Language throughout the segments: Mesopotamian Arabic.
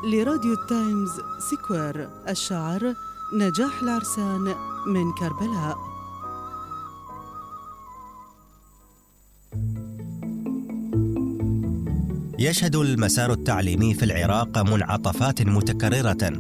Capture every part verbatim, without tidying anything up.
لراديو تايمز سكوير. الشعر نجاح العرسان من كربلاء. يشهد المسار التعليمي في العراق منعطفات متكررة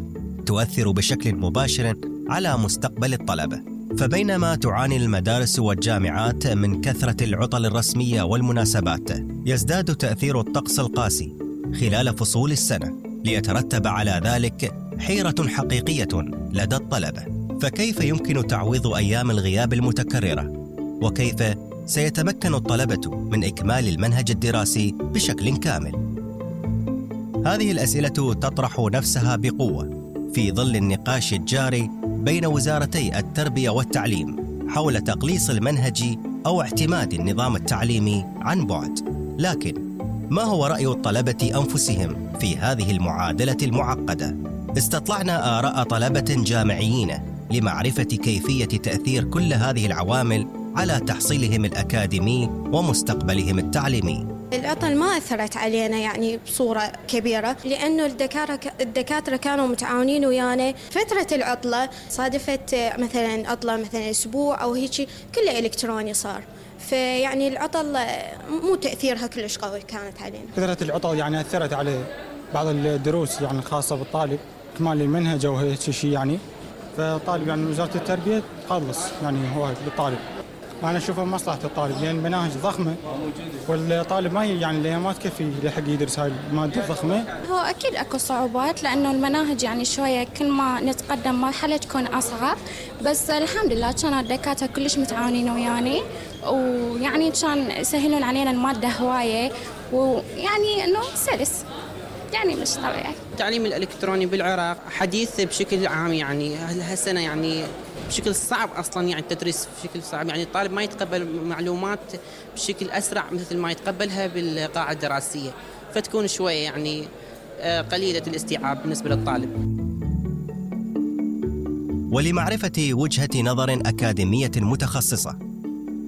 تؤثر بشكل مباشر على مستقبل الطلبة. فبينما تعاني المدارس والجامعات من كثرة العطل الرسمية والمناسبات، يزداد تأثير الطقس القاسي خلال فصول السنة، ليترتب على ذلك حيرة حقيقية لدى الطلبة. فكيف يمكن تعويض أيام الغياب المتكررة؟ وكيف سيتمكن الطلبة من إكمال المنهج الدراسي بشكل كامل؟ هذه الأسئلة تطرح نفسها بقوة في ظل النقاش الجاري بين وزارتي التربية والتعليم حول تقليص المنهج أو اعتماد النظام التعليمي عن بعد. لكن ما هو رأي الطلبة أنفسهم في هذه المعادلة المعقدة؟ استطلعنا آراء طلبة جامعيين لمعرفة كيفية تأثير كل هذه العوامل على تحصيلهم الأكاديمي ومستقبلهم التعليمي. العطل ما أثرت علينا يعني بصورة كبيرة، لأنه الدكاترة الدكاترة كانوا متعاونين ويانا. فترة العطلة صادفت مثلا عطلة مثلا أسبوع أو هيك، كله إلكتروني صار، فيعني العطل مو تأثيرها كلش قوي كانت علينا. كثرة العطل يعني أثرت على بعض الدروس يعني الخاصة بالطالب، إكمال المنهج أو هيك شيء يعني. فالطالب يعني وزارة التربية تخلص يعني هو للطالب. أنا أشوفها مصلحة الطالب، لأن المناهج ضخمة والطالب ما يعني اللي ما تكفي لحق يدرس هاي المادة الضخمة. هو أكيد أكو صعوبات، لأنه المناهج يعني شوية كل ما نتقدم مرحلة تكون أصعب، بس الحمد لله كان الدكاترة كلش متعاونين وياني، ويعني كان يسهلون علينا المادة هواية، ويعني إنه سلس يعني مش طبيعي. التعليم الإلكتروني بالعراق حديث بشكل عام، يعني هالسنة يعني بشكل صعب أصلاً، يعني التدريس بشكل صعب، يعني الطالب ما يتقبل معلومات بشكل أسرع مثل ما يتقبلها بالقاعة الدراسية، فتكون شوية يعني قليلة الاستيعاب بالنسبة للطالب. ولمعرفة وجهة نظر أكاديمية متخصصة،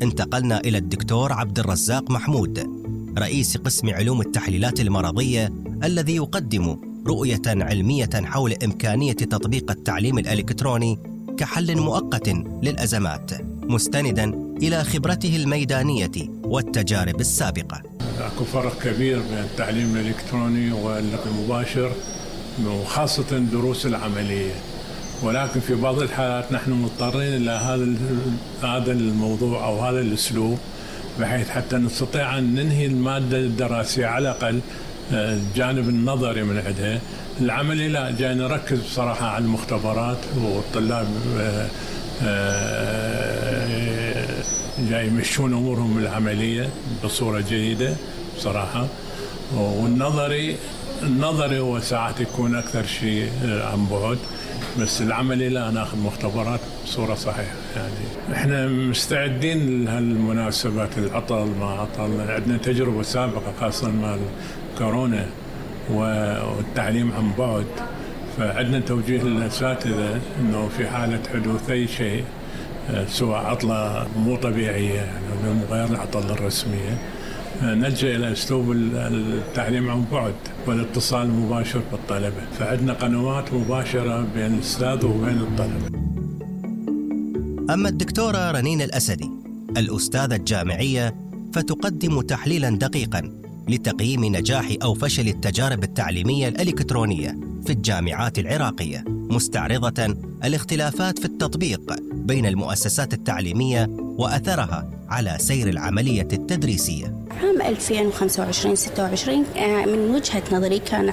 انتقلنا إلى الدكتور عبد الرزاق محمود، رئيس قسم علوم التحليلات المرضية، الذي يقدم رؤية علمية حول إمكانية تطبيق التعليم الإلكتروني كحل مؤقت للأزمات، مستنداً إلى خبرته الميدانية والتجارب السابقة. أكو فرق كبير بين التعليم الإلكتروني والمباشر، وخاصة الدروس العملية، ولكن في بعض الحالات نحن مضطرين إلى هذا هذا الموضوع أو هذا الأسلوب، بحيث حتى نستطيع أن ننهي المادة الدراسية على الأقل الجانب النظري من عندها. العملي لا، جاي نركز بصراحة على المختبرات، والطلاب جاي يمشون أمورهم العملية بصورة جيدة بصراحة. والنظري النظري هو ساعات يكون أكثر شيء عن بعد، بس العملي لا، ناخذ مختبرات بصورة صحيحة. يعني احنا مستعدين لهالمناسبات، العطل ما عطل، عندنا تجربة سابقة خاصة مع كورونا والتعليم عن بعد، فعندنا توجيه للأساتذة أنه في حالة حدوث أي شيء سواء عطلة مو طبيعية يعني غير العطل الرسمية، نلجأ إلى أسلوب التعليم عن بعد والاتصال المباشر بالطلبة. فعندنا قنوات مباشرة بين الأستاذ وبين الطلبة. أما الدكتورة رنين الأسدي، الأستاذة الجامعية، فتقدم تحليلاً دقيقاً لتقييم نجاح أو فشل التجارب التعليمية الإلكترونية في الجامعات العراقية، مستعرضة الاختلافات في التطبيق بين المؤسسات التعليمية وأثرها على سير العملية التدريسية. عام ألفين وخمسة وعشرين ستة وعشرين من وجهة نظري كان